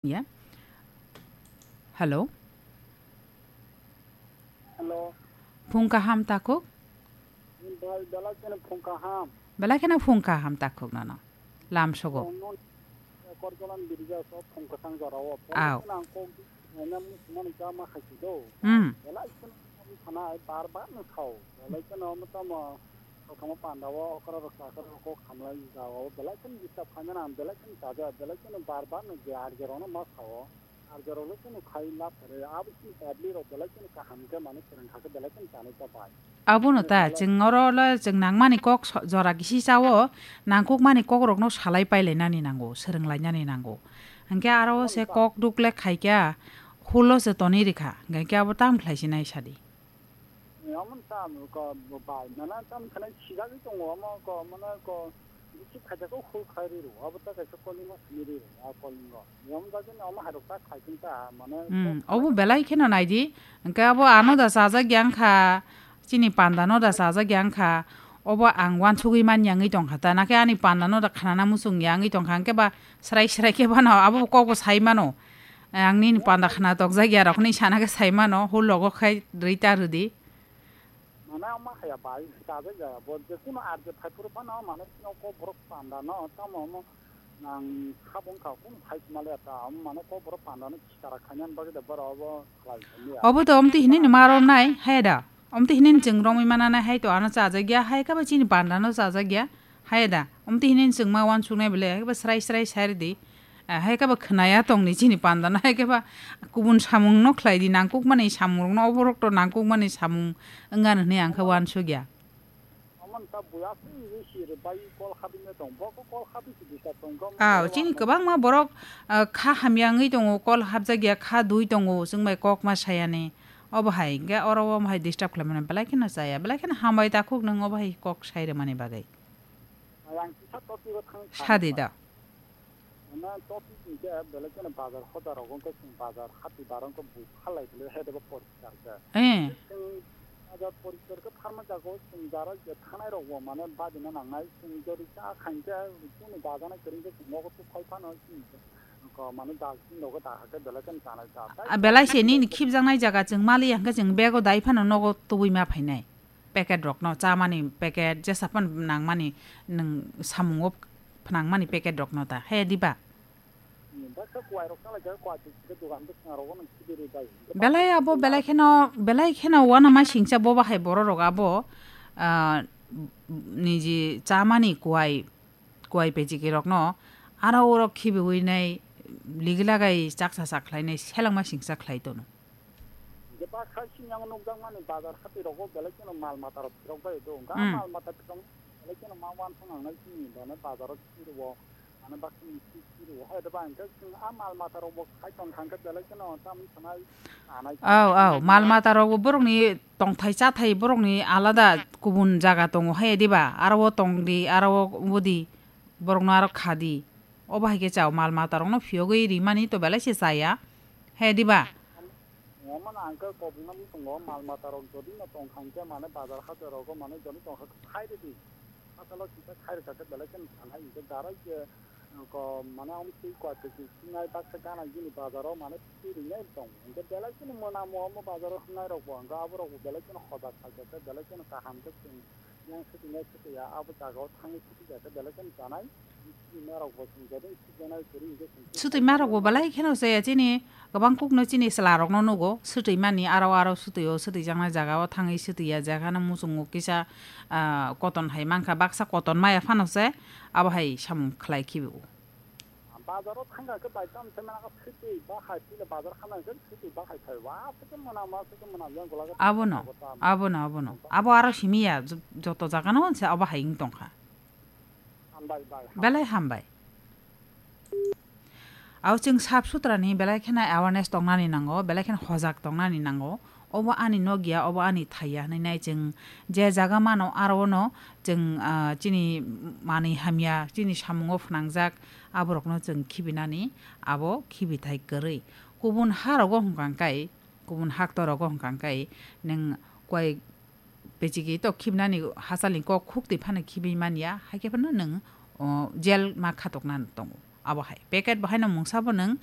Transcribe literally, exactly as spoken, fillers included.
Ya. Hello. Hello. Phung kaham takhuk? Bel-, belai kheno phung kaham. Belai kheno phung kaham takhuk nono. Lam sogo. Nono Korjolan birja so phung kwchang jorao. Aw. Belai kheno ang kok, eh, nam musimani kama khaisi do. Hmm. Belai kheno sana bar bar no thao. Belai kheno mo tamo Kothoma panda o okra rok chakra rok kok hamlai jao belai kheno disturb khaimani ang belai kheno chaja belai kheno bar bar no je arje rok no ma sao arje rok le kheno khai lab kare abo chini public rok belai kheno kaham khe mane kwrwng kha khe belai kheno chanai ta bai. Abono ta chwng oro le chwng nangmani kok so-, jora gisi chao nangkukmani kok rokno salai pailainani nango swrwnglainani nango. Hwnkhe aro se kok duk le khaikha hulo se tonwi rikha hwnkhe abo tamo khlai sinai sadi. Omo sa ko bai mana tam khana sijagwi tongo omo ko mana ko bisi khaja ko khul khai ri ro abo ta kaisa kolingo simi ri ro a kolingo yom jagwi omo harok ta khai tong ta mane Hmm, obo belai kheno naidi hwnkhe abo ano da chajak yang kha chini panda no da chajak yang kha obo ang wansugwi man yangwi tong kha ta nakhe ani panda no da khnana muchung yangwi tong kha hwnkhe ba srai srai khe bano abo kok bo sai mano. Ang nini panda khna tokjak ya rok hinwi sana khe sai mano, hur logo khai rwi ta rwdi. Mane ama haya bai, chajak ya, bo je kuno arje phai phuru phano, mane chini kok borok panda no, tamo omo nang kha bong kha, kuno phai sima le ta, omo mane kok borok panda no chara khaina bagwi da boro obo khlai khaini ya. Obo to omti hinini ma romnai, hai da. Omti hinini chwng romwi mananai, hai to ano chajak ya, hai khe ba chini panda no chajak ya. Hai da, omti hinini chwngma wansuknai bele, hai khe ba srai srai sai rwdi. Ah, hai khe ba khwnaya tongni chini panda no, hai khe ba kubun samung no khlai di, nangkukmani samung rok no, oborok to nangkukmani samung wngya hinwi ang khe wansuk ya. Omo ta buya si, si rwbai kol habwi no tong, bo khe kol habwi si disturb tong, gom Aw, khe chini wa kwbangma borok, ah, kha hamya wngwi tongo, kol habjak ya, kha dui tongo, chwng bai kok ma sayani. Obo hai, hwnkhe oro omo hai disturb khlaimani belai kheno chaya, belai kheno hambai takhuk nwng obo hai kok sai rwmani bagwi. Ang kisa topic o thang Sadi da. Mane topic hwnkhe belai kheno bazar hodar rogo wngkha chwng bazar hati bar wngkha bui phalai bwlai hai debo poriskar khe. Eh. Chwng bazar poriskar khe pharma jaga o chwng jara je thanai rok bo mane badina nangnai chwng jori cha khain khe chini bajanai kwrwng khe chwng nogo tukhai phano chini ko mane dal chini nogo da hakhe belai kheno chanai cha. Ah, belai se nini khibjaknai jaga chwng mali hwnkhe chwng bego dai phano nogo tubui ma phainai. Packet rokno, chamani packet, jesa phano nangmani, nwng samungo phnangmani packet rokno ta, he diba? Baksa kuwai rok chalai kha, kuwai twi khe dogan bwskango rokno khibiri bai. Belai abo belai kheno, belai kheno uanama singcha bo bahai borok rok abo, ah, niji chamani kuwai, kuwai pechiki rokno aro oro khibiwi nai ligilagai chaksa chak khlainai selengma singcha khlai tono. Hingke baksa sini ang nukjakmani bazar hati rogo belai kheno mal mata rok phirok bai do. Hingke a Hmm. mal mata phirok belai kheno ma uansuk nangnai sini bana bazar o phiro, mane baksa ni phiro. Hai da ba hingke chwng a mal mata rok bo khai tong kha hingke belai kheno tam sanai, sanai. Aw, aw, mal mata rok bo borokni tongthai chathai borokni alada kubun jaga tongo hai diba? Aro o tongdi, aro o budi, borokno aro khadi. Obo hai khe chao mal mata rokno phiyogwi rimani to belai se chaya. He diba? Omo no ang khe kobokno bwsongo mal mata rok jodi no tong kha hingkhe mane bazar hajar rogo mane jodi tong kha khai rwdi. Asalo kisa khai rwkha khe belai kheno sanai hingkhe darai khe ko mane omo twi koi phaikhe sinai baksa gana gini bazaro mane twi rinai tong. Hingkhe belai kheno mwnamo omo bazaro hwngnai rokbo hingkhe aborokbo belai kheno hojak phaikha khe belai kheno kaham khe chwng yang swtwinai swtwi ya abo jagao thangwi swtwi ya khe belai kheno chanai. Swtwi marok bo chwng jodi swtwi janai kwrwi hingkhe chwng Swtwi marok bo belai kheno chaya chini kwbang kukno chini chwla rokno nugo swtwi mani aro aro swtwi o swtwi jaknai jaga o thangwi swtwi ya jaga no muchungo kisa, ah, koton hai mankha baksa koton maya phano se abo hai samung khlai khibi o. Bazaro thangkha khe bai tam se mana swtwi ba hai pila bazar khana khe swtwi ba hai phai wa se khe mwnama se khe mwnam yang gola khe Abono, abo tam. Abono, abono. Abo aro simi ya jo-, joto jaga no se abo hai wng tongkha. Hambai bai. Belai hambai. Abo chwng sap sutrani belai kheno awareness tongnani nango, belai kheno hojak tongnani nango. Obo ani nok ya, obo ani thai ya hinwi nai chwng je jaga mano aro no chwng, ah, chini manwi hamya, chini samungo phnangjak aborokno chwng khibinani abo khibithai kwrwi. Kubun ha rogo hwnkha hwnkhe, kubun hakto rogo hwnkha hwnkhe nwng koi Pechiki to khibnani hachalni kok khuk twi phano khibwi man ya, hai khe phano nwng, o, jail ma khatokna tongo. Abo hai packet bo haino mungsa bo nwng